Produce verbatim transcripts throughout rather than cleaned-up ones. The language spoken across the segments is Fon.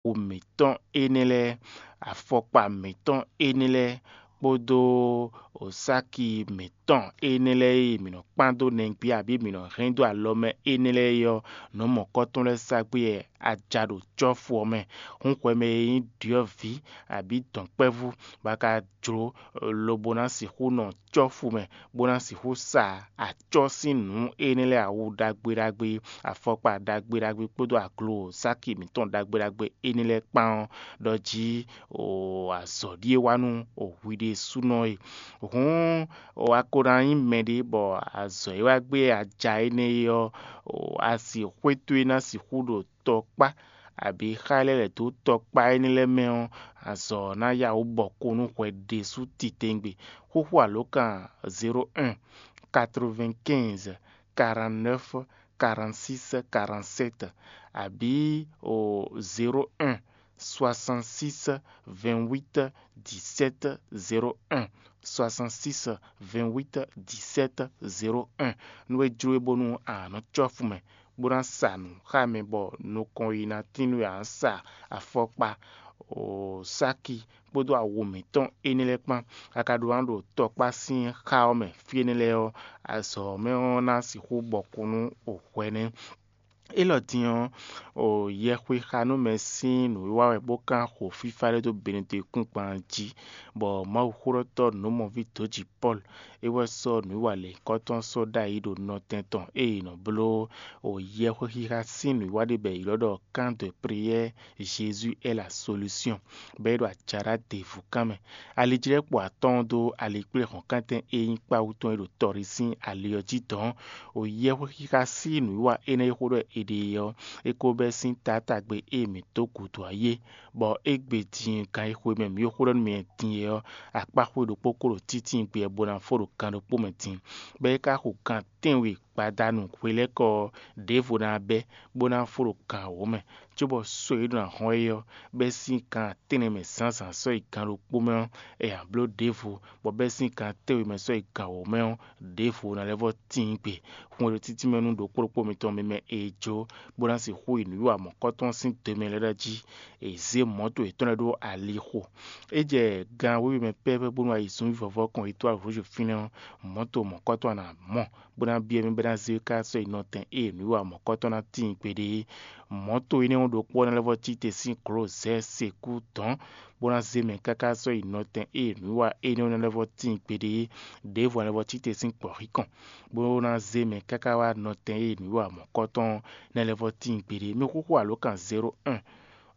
awu mǐtɔn énɛ́ lɛ́ɛ, afɔkpa mǐtɔn énɛ́ lɛ́ɛ, kpódó osáki mǐtɔn énɛ́ lɛ́ɛ e mǐ nɔ kpán dó nɛgbé abǐ mǐ nɔ hɛn dó alɔ mɛ énɛ́ lɛ́ɛ é ɔ́, nǔ mɔ̌kɔ́tɔn lɛ́ɛ sa gbé wɛ a ja ɖo cɔ́fu ɔ́ mɛ. Hǔn hwɛ mɛ e nyí ɖyɔ̌vǐ abǐ dɔ̌nkpɛ́vú bɔ a ka jlǒ lobo ná sixú nɔ cɔ́fu mɛ, bó ná sixú sa acɔ́ sín nǔ énɛ́ lɛ́ɛ awu ɖagbe ɖagbe, afɔkpa ɖagbe ɖagbe kpódó aglo sáki mǐtɔn ɖagbe ɖagbe énɛ́ lɛ́ɛ kpán ɔ́ ɖɔ jí o azɔ̌ ɖíe wá nú o hwi ɖésúnɔ e. Hǔn o a ko ná nyí mɛɖé bɔ azɔ̌ e wá gbé a ja énɛ́ é ɔ́, o a si xwé towe ná sixú ɖo tɔkpá abǐ xá lɛ́ lɛ̌ dó tɔkpá énɛ́ lɛ́ɛ mɛ ɔ́, azɔ̌ ɔ́ ná yá wǔ bɔ kó nú hwɛ ɖésú titewungbe. Xóxó alǒkan zéro un, quatre-vingt-quinze, quarante-neuf, quarante-six, quarante-sept, abǐ o zéro un, soixante-six, vingt-huit, dix-sept, zéro un, soixante-six, vingt-huit, dix-sept, zéro un. Nú é jló é bónú a nǎ nɔ cɔ́fu mɛ, bó ná sa nǔ xá mɛ bɔ nukɔn yi ná tín nú a nǎ sa afɔkpa, o sáki kpódó awu mǐtɔn énɛ́ lɛ́ɛ kpán. A ka ɖó ná ɖo tɔkpá sín xá ɔ́ mɛ fí énɛ́ lɛ́ɛ ɔ́, azɔ̌ ɔ́ mɛ ɔ́ ná sixú bɔkun nú o hwɛ nɛ́. Élɔ́ din ɔ́, o yɛxwexanúmɛ sín nǔwiwa wɛ bó kán xo fífá ɖé dó Benɛdekún gban jí, bɔ Mawuxóɖɔtɔ́ nǔmɔví dǒji Pɔ́lu é wɛ sɔ́ nǔwiwa lěhunkɔtɔn sɔ́ ɖ'ayǐ ɖo nɔtɛn tɔn e è nɔ bló o yɛxwexixa sín nǔwiwa ɖé bɔ è ylɔ́ ɖɔ camp de prière Jésus est la solution, bɔ é ɖo ajaɖá ɖěvú kan mɛ. Alijlɛ́kpo atɔ́ɔ́n dó alikpléhɔ̌nkántɛn e nyí kpáwú tɔn e ɖo tɔɖi sín ali ɔ́ jí dɔ̌n. O yɛhwexixa sín nǔwiwa énɛ́ e xó ɖɔ è ɖe é ɔ́, é ko bɛ́ sín taátagbe e mǐ dó gǔdo ɔ́ yí é, bɔ égbé din gan e xwe mɛ mǐ ɖo xó ɖɔ nú mi din é ɔ́, akpáxwé ɖokpó ko ɖo títíngbe ɔ́ bó ná fó ɖo gan ɖokpó mɛ din, bɔ é ka xo gan tɛ́nwe gbadanu hwelɛ́kɔ ɔ́, ɖěvo ná bɛ́, bó ná fó ɖo gan wǒ mɛ, cóbɔ só e ɖo ná hɔn é ɔ́, bɛ́ sín gan tɛ́nnɛ mɛ zǎnzǎn sɔ́ yi gan ɖokpó mɛ ɔ́, è nǎ bló ɖěvo, bɔ bɛ́ sín gan tɛ́nwe mɛ sɔ́ yi gan wǒ mɛ ɔ́, ɖěvo ná lɛ́ vɔ́ tíin gbe. Hun e ɖo títí mɛ nú ɖokpó ɖokpó mitɔn mɛ mɛ è jó, bó ná sixú yi nǔwiwa mɔ̌kɔ́tɔn sín do mɛ lɛ́ɛ ɖɔ jí è zě mɔ̌to yětɔn lɛ́ɛ ɖó alixo. É jɛ gan wěwe mɛ pɛ́pɛ́ bónú ayǐzúnví vɔvɔ kɔn yi tó alǒ Joséfinu ɔ́, mɔ̌to mɔ̌kɔ́tɔn ná mɔ, bó ná byɔ́ mì bɔ é ná zé ká sɔ́ yi nɔtɛn ée nǔwiwa mɔ̌kɔ́tɔn ná tíin gbeɖé é. Mɔ̌to énɛ́ ɔ́ ɖokpó ɔ́ ná lɛ́ vɔ́ cí te sín glǒ zɛ́ sekú dɔ̌n, bó ná zé mɛ káká sɔ́ yi nɔtɛn ée nǔwiwa énɛ́ ɔ́ ná lɛ́ vɔ́ tíin gbeɖé é. Ɖěvo ná lɛ́ vɔ́ cí te sín gbɔ̌xíkɔn, bó ná zé mɛ káká wá nɔtɛn ée nǔwiwa mɔ̌kɔ́tɔn ɔ́ ná lɛ́ vɔ́ tíin gbeɖé é. Mi xúxú alǒkan zéro un,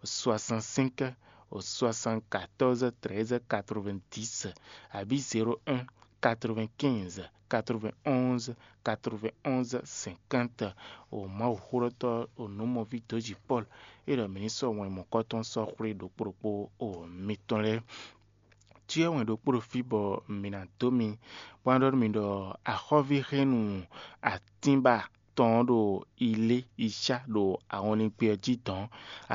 soixante-cinq, soixante-quatorze, treize, quatre-vingt-dix, abǐ zéro un, quatre-vingt-quinze, quatre-vingt-onze, quatre-vingt-onze, cinquante. O Mawuxóɖɔtɔ́, o nǔmɔví dǒji Pɔ́lu, é ɖɔ mǐ ní sɔ́ wɛn mɔ̌kɔ́tɔn sɔ́ xwlé ɖokpó ɖokpó o mitɔn lɛ́ɛ. Cyɔ wɛn ɖokpó ɖo fí bɔ mǐ ná dó mi, bó ná ɖɔ nú mi ɖɔ axɔ́ví hɛ́nnu atínba tɔn ɔ́ ɖo ilé yi cá ɖo ahɔnlin gbé ɔ́ jí dɔ̌n.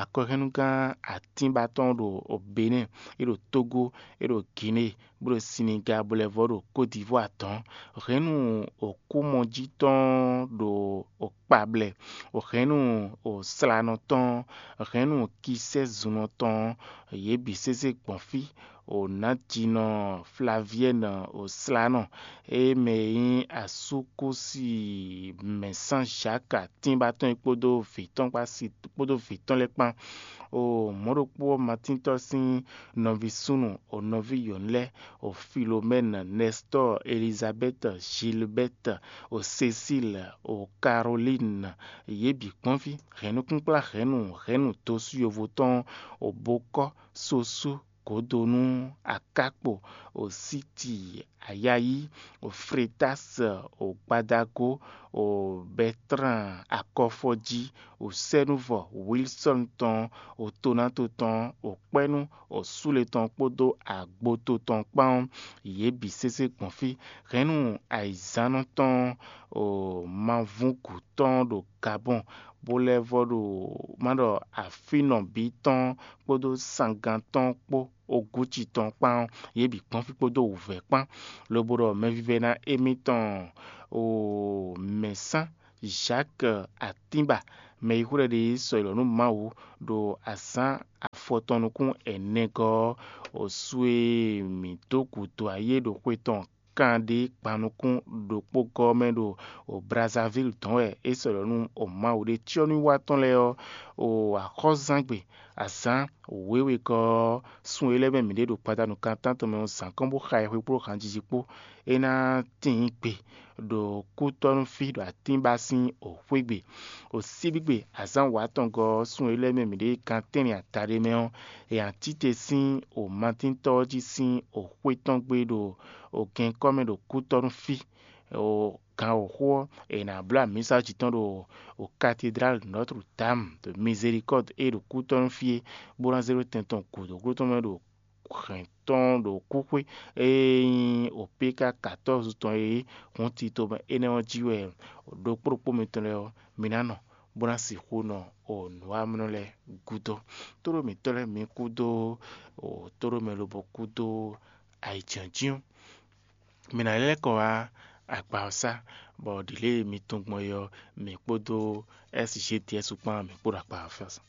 Akɔhɛnnugán atínba tɔn ɖo Benɛ́ɛ, é ɖo Tógó, é ɖo Ginée, bó ɖo Siniga, bó lɛ́ vɔ́ ɖo Kódivwáa dɔ̌n. Hɛ̌nnu òkúmɔjí tɔn ɖo kpablɛ, hɛ̌nnu slanɔ tɔn, hɛ̌nnu kisɛ́zunnɔ tɔn, yě bǐ sésé gbɔn fí. Nǎjinɔ Flaviɛ́n slanɔ, e mɛ e nyí asúkúsi mɛ̌sán Zǎk atínba tɔn é kpódó vǐ tɔn kpó asi kpódó vǐ tɔn lɛ́ɛ kpán. O mɔ̌ ɖokpó ɔ́, Matíntɔ́ sín nɔví súnnu, o nɔví yɔ̌nu lɛ́ɛ, o Filomɛ́n, Nɛstɔ́ɔ, Elizabɛ́t, Zilbɛ́t, o Sesíl, o Karolín, yě bǐ kpɔ́n fí. Hɛ̌nnukúnkplá hɛ̌nnu, hɛ̌nnu dosú yovo tɔn, o bokɔ́, sosú, gǒdo nú Akákpo, o Síti, Ayayí, o Fretási, o Gbadagó, o Bɛtlán, Akɔfɔjí, o Sɛ́núvɔ, Wilsɔ́n tɔn, o Tonáto tɔn, o Kpɛ́nú, o Súle tɔn kpódó Agboto tɔn kpán ɔ́, yě bǐ sésé gbɔn fí. Hɛ̌nnu ayǐzánɔ tɔn, o Mavúngǔ tɔn ɖo Gabɔn, bó lɛ́ vɔ́ ɖo má ɖɔ afínɔ bǐ tɔn kpódó sangán tɔn kpó ogúci tɔn kpán ɔ́, yě bǐ kpɔ́n fí kpódó wǔvɛ́ kpán, lobo ɖɔ mɛvívɛ́ná émítɔn, o mɛ̌sán Zǎk atínba, Mɛ e xwlɛ́ ɖe sɔ élɔ́ nú Mawu ɖo azǎn afɔtɔn nukún ɛnɛgɔ́ ɔ́, osu e mǐ dó gǔdo ayé ɖo xwe tɔn kanɖé gban nukún ɖokpó gɔ́ mɛ ɖo Brazzaville dɔn wɛ é sɔ élɔ́ nú Mawu ɖe. Cyɔ́núwiwa tɔn lɛ́ɛ ɔ́, axɔ́zangbe azǎn wěwegɔ́ ɔ́, sun e lɛ́ mɛ mǐ ɖe ɖo gbadanu kan tántɔn mɛ ɔ́ zǎn kɔn bó xa ɛ xwe kpó hanjiji kpó. É ná tíin gbe ɖo kútɔ́núfí ɖo atínba sín xwé gbe. Osíbígbe azǎn wǎtɔngɔ́ ɔ́, sun e lɛ́ mɛ mǐ ɖe gan tɛ́nlin adaɖé mɛ ɔ́, è nǎ tite sín omatíntɔ́ ɔ́ jí sín oxwé tɔn gbe ɖo ogɛnkɔ́ mɛ ɖo kútɔ́núfí. Gan wǒxo ɔ́, è nǎ bló amǐsa jí tɔn ɖo Cathédrale Notre Dame de Miséricorde e ɖo kútɔ́núfí é, bó ná zé ɖó tɛn tɔn gǔdo gló tɔn mɛ ɖo hɛn tɔn ɖo kúxwé e nyí opéka katɔ́ɔzu tɔn e hun tito mɛ énɛ́ ɔ́ jí wɛ ɖokpó ɖokpó mitɔn lɛ́ɛ ɔ́, mi ná nɔ, bó ná sixú nɔ nǔwamlɔ lɛ́ɛ gúdo. Tóɖó mǐtɔn lɛ́ɛ mi kúdó tóɖó mɛ lobo kúdó ayǐjínjɔ́n. Mi ná lɛ́ kɔ wá agba ɔ́ sá, bɔ ɖǐ lě e mi tunwun gbɔn é ɔ́, mi kpódó S G D S kpán mi kpó ɖo agba ɔ́ sá.